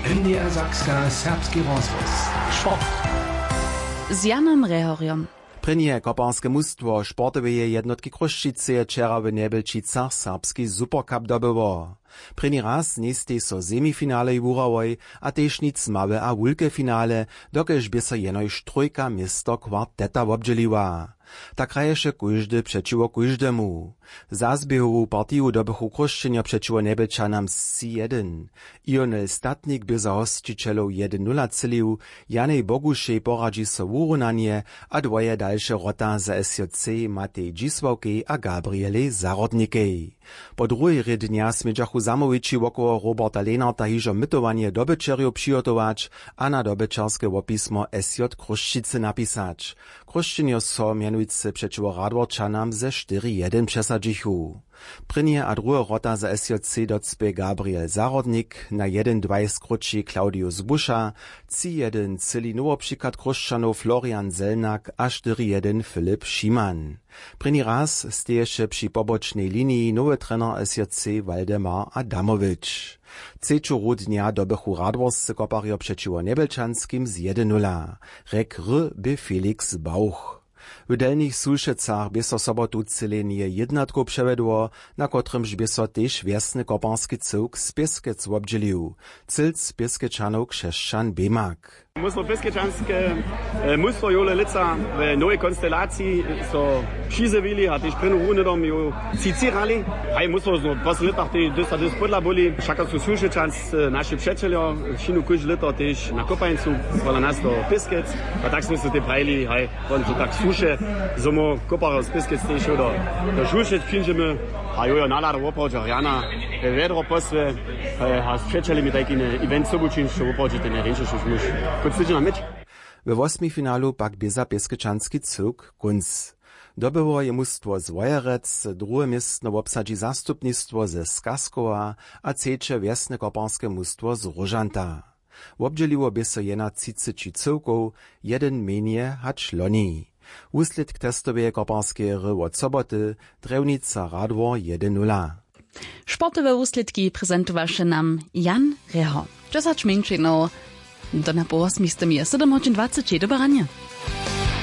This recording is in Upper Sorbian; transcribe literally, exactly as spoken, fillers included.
Niedersakska serbski rozhłos. Sport. Z Janom Rehorjom. Prěnje koparske mustwo sportoweje jednotki Chrósćiceje wčera w Njebjelčicach serbski Supercup dobyło. Prěni raz njejstej so semifinalej wuhrałoj a tež nic małe a wulke finale, dokelž bě so jenož trójka město kwarteta wobdźěliła. Tak hraješe kóždy přećiwo kóždemu. Za zběhowu partiju dobychu Chróšćenjo přećiwo Njebjelčanam tři jedyn. Ionel Statnik bě za hosćićelow jedyn nula třělił, Janej Bogušej poradźi so wurunanje a dwoje dalše wrota za S J C Matej Dźisławkej a Gabrielej Zahrodnikej. Po druhej rě dnja smědźachu zamołwići wokoło Roberta Lenarta hižo mytowanje dobyćerjow přihotować a na dobyćerske wopismo S J Chrósćicy napisać. Chrósćenjo so mjenujcy přećiwo Radworčanam ze štyri jedyn přesadźichu. Prěnje a druhe wrota za S J C docpě Gabriel Zahrodnik, na jedyn dwaj skróći Claudius Buša, tři jedyn třěli nowopřichad Chróšćanow Florian Zelnak a štyri jedyn Filip Šiman. Prěni raz steješe při pobočnej liniji nowy trener S J C Waldemar Adamowić. Třeću hru dnja dobychu radworscy koparjo přećiwo Njebjelčanskim z jedyn nula. Rjek hry bě Felix Bauch. W Delnich Sulšecach bě so sobotu třělenje jědnatkow přewjedło, na kotrymž bě so tež wjesny koparski cyłk z Pěskec wobdźělił. Cylc Pěskečanow Křesćan Bemak. My smo pěskečanske e, mustwo jowle lětsa w nowej konstelaciji so přizjewili a tež prěnu runedom ju cicirali. Haj, mustwo smo w poslednich lětach tej dysta dys podla byli. Wšaka su Sulšečans e, naši přećeljo, wšinu kóžde lěto tež na kopańcu pola nas do Pěskec. A tak smo se tej prajili, haj, won to tak słuše, zo mo koparjo z Pěskec tež do, do Sulšec přińdźemy. A jojo, nalada woprawdźe rjana, wjedro posłe, e, a z přećelemi tajki event sobu čińć, to woprawdźe ten rjeńšeši muž. Kónc tydźenja měć. We wosmifinalu pak bě za pěskečanski cyłk kónc. Dobyło je mustwo z Wojerec, druhe městno wobsadźi zastupnistwo ze Skaskowa a třeće wjesne koparske mustwo z Róžanta. Wobdźěliło bě so jena třiceći cyłkow, jedyn mjenje hač loni. Wuslědk testoweje koparskeje hry wot soboty, Drjewnica Radwor jedyn nula. Sportowe wuslědki prezentowaše nam Jan Reho. Dźesać mjeńšinow do napoł wosmistym je sydomhodźin dwaceći. Dobre ranje.